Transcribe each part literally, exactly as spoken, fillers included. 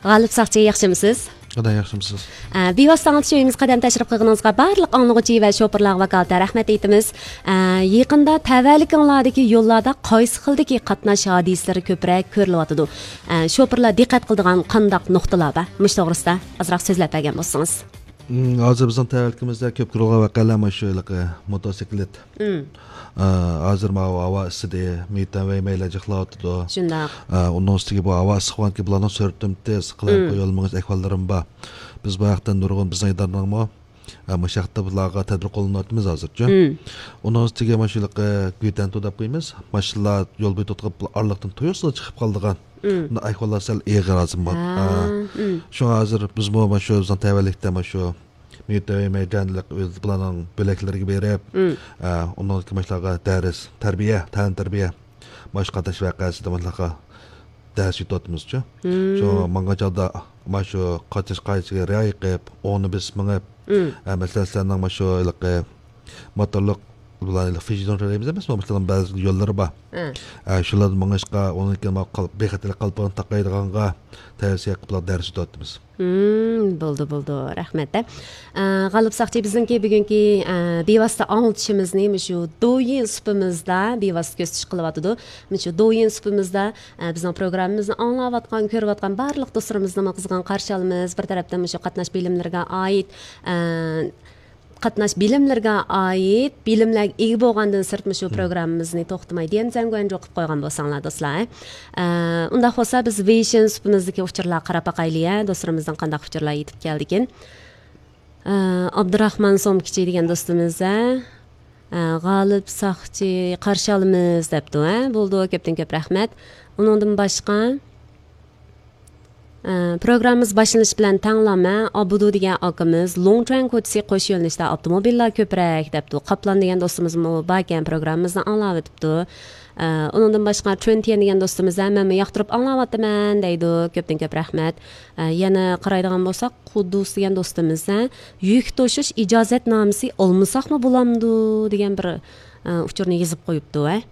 غالىپ ساقچى، ياخشىمۇسىز؟ خۇدا ياخشىمۇسىز؟ ئە، بىۋاسىتە ئاڭلىتىش ئۆيىمىزگە قەدەم تەشرىپ قىلغىنىڭىزغا بارلىق ئاڭلىغۇچى ۋە شوپۇرلارغا ۋاكالىتەن رەھمەت ئېيتىمىز. ئە، يېقىندا تەۋەلىكىڭلاردىكى يوللاردا قايسى خىلدىكى قاتناش ھادىسىلىرى كۆپرەك كۆرۈلۈۋاتىدۇ؟ ئە، شوپۇرلار دىققەت قىلىدىغان قانداق نۇقتىلار بار؟ مۇشۇ توغرىسىدا ئازراق سۆزلەپ بەرگەن بولسىڭىز. ھازىر بىزنىڭ تەۋەلىكىمىزدە كۆپ كۆرۈلگەن ۋەقەلەر مانا شۇ ھېلىقى موتوسىكلىت. ئە، ھازىر ماۋۇ ھاۋا ئىسسىدى، مېيىتەن ۋەي مەيلەر جىقلاۋاتىدۇ. شۇنداق. ئە، ئۇنىڭ ئۈستىگە بۇ ھاۋا ئىسسىق بولغاندىكىن بۇلارنىڭ سۈرئىتى تېز، قالايمىقان يول مېڭىش ئەھۋاللىرىمۇ بار. بىز بۇ ھەقتە نۇرغۇن بىزنىڭ ئىدارىنىڭمۇ، ئە، مۇشۇ ھەقتە بۇلارغا تەدبىر قوللىنىۋاتىمىز ھازىرچۇ. ئۇنىڭ ئۈستىگە مانا شۇ ھېلىقى گۈيتەنتۇ دەپ قويىمىز. ماشىنىلار يول بويىدا توختاپ ئارىلىقتىن تۇيۇقسىز چىقىپ قالىدىغان. بۇنداق ئەھۋاللار سەل ئېغىر ھازىر. ھە، ئە، شۇڭا ھازىر بىزمۇ مانا شۇ بىزنىڭ تەۋەلىكتە مانا شۇ مېيىتەن ۋەي مەيدانى ئۆز بۇلارنىڭ بۆلەكلىرىگە بېرىپ، ئە، ئۇنىڭدىن كېيىن ماشۇلارغا دەرس، تەربىيە، تەنتەربىيە، ماشۇ قاتناش ۋەقەسىدە ماشۇلارغا دەرس ئۆتۈۋاتىمىزچۇ. شۇ ماڭغان چاغدا مانا شۇ قاتناش قائىدىسىگە رىئايە قىلىپ، ئوڭنى بېسىپ مېڭىپ، ئە، مەسىلەن، سىلەرنىڭ مانا شۇ ھېلىقى موتورلۇق بۇلار ھېلىقى فىژىدون دەيمىز ئەمەسمۇ، مۇشۇلارنىڭ بەزى يوللىرى بار. ئە، شۇلاردا مېڭىشقا، ئۇنىڭدىن كېيىن مانا قال-، بىخەتەرلىك قالپىقىنى تاقايدىغانغا تەۋسىيە قىلىپ بۇلارغا دەرس ئۆتۈۋاتىمىز. ھىم، بولدى، بولدى، رەھمەت. ئە، غالىپ ساقچى، بىزنىڭكى بۈگۈنكى، ئە، بىۋاسىتە ئاڭلىتىشىمىزنى مۇشۇ دويىن سۇپىمىزدا بىۋاسىتە كۆزىتىش قىلىۋاتىدۇ. مۇشۇ دويىن سۇپىمىزدا، ئە، بىزنىڭ پروگراممىمىزنى ئاڭلاۋاتقان، كۆرۈۋاتقان بارلىق دوستلىرىمىزنىمۇ قىزغىن قارشى ئالىمىز. بىر تەرەپتىن مۇشۇ قاتناش بىلىملىرىگە ئائىت، ئە، قاتناش بىلىملىرىگە ئائىت بىلىملەرگە ئىگە بولغاندىن سىرت، مۇشۇ پروگراممىمىزنى توختىماي ديەنزەنگۇەنجۇ قىلىپ قويغان بولساڭلار، دوستلار. ئە، ئۇنداق بولسا، بىز ۋېيشىن سۇپىمىزدىكى ئۇچۇرلارغا قاراپ باقايلى، ھە؟ دوستلىرىمىزدىن قانداق ئۇچۇرلار يېتىپ كەلدىكىن؟ ئە، ئابدۇراخمان سومكىچى دېگەن دوستىمىز، ھە؟ ئە، غالىپ ساقچى قارشى ئالىمىز دەپتۇ، ھە؟ بولىدۇ، كۆپتىن كۆپ رەھمەت. ئۇنىڭدىن باشقا، ئە، پروگراممىمىز باشلىنىشى بىلەن تەڭلا مەن ئابدۇ دېگەن ئاكىمىز لوڭچۈەن كوچىسى قوش يۆنىلىشتە ئاپتوموبىللار كۆپرەك دەپتۇ. قاپلان دېگەن دوستىمىزمۇ باركەن، پروگراممىمىزنى ئاڭلاۋېتىپتۇ. ئە، ئۇنىڭدىن باشقا چۈەنتيەن دېگەن دوستىمىز ھە، مەنمۇ ياقتۇرۇپ ئاڭلاۋاتىمەن دەيدۇ. كۆپتىن كۆپ رەھمەت. ئە، يەنە قارايدىغان بولساق، قۇددۇس دېگەن دوستىمىز ھە، يۈك توشۇش ئىجازەتنامىسى ئالمىساقمۇ بولامدۇ دېگەن بىر، ئە، ئۇچۇرنى يېزىپ قويۇپتۇ ھە.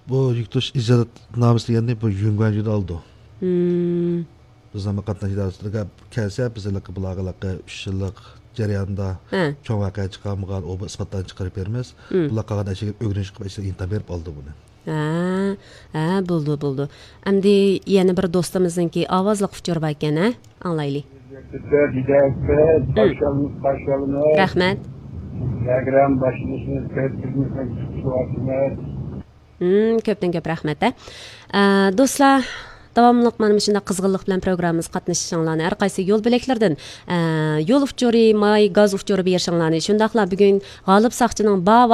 بۇ يۈك توشۇش ئىجازەتنامىسى دېگەننى بۇ يۈنگۇەنجۈدە ئالىدۇ. ھىم. بىزنىڭ قاتناش ئىدارىسىگە كەلسە، بىز ھېلىقى بۇلارغا ھېلىقى ئۈچ يىللىق جەرياندا ھە. چوڭ ۋەقە چىقارمىغان، ئۇ بۇ ئىسپاتلارنى چىقىرىپ بېرىمىز. ھىم. بۇلار قالغان ئەشياغا ئۆگىنىش قىلىپ، ئىچىدە ئىمتىھان بېرىپ ئالىدۇ بۇنى. ھە، ھە، بولدى، بولدى. ئەمدى يەنە بىر دوستىمىزنىڭكى ئاۋازلىق ئۇچۇرى باركەن، ھە؟ ئاڭلايلى. ھىم. رەھمەت. پروگرامما باشلىنىشىنى كۆرۈپ، ھىم، كۆپتىن كۆپ رەھمەت، ھە. ئە، دوستلار، داۋاملىق مانا مۇشۇنداق قىزغىنلىق بىلەن پروگراممىمىزغا قاتنىشىشىڭلارنى، ھەر قايسى يول بۆلەكلىرىدىن، ئە، يول ئۇچۇرى، ماي، گاز ئۇچۇرى بېرىشىڭلارنى، شۇنداقلا بۈگۈن غالىپ ساقچىنىڭ بار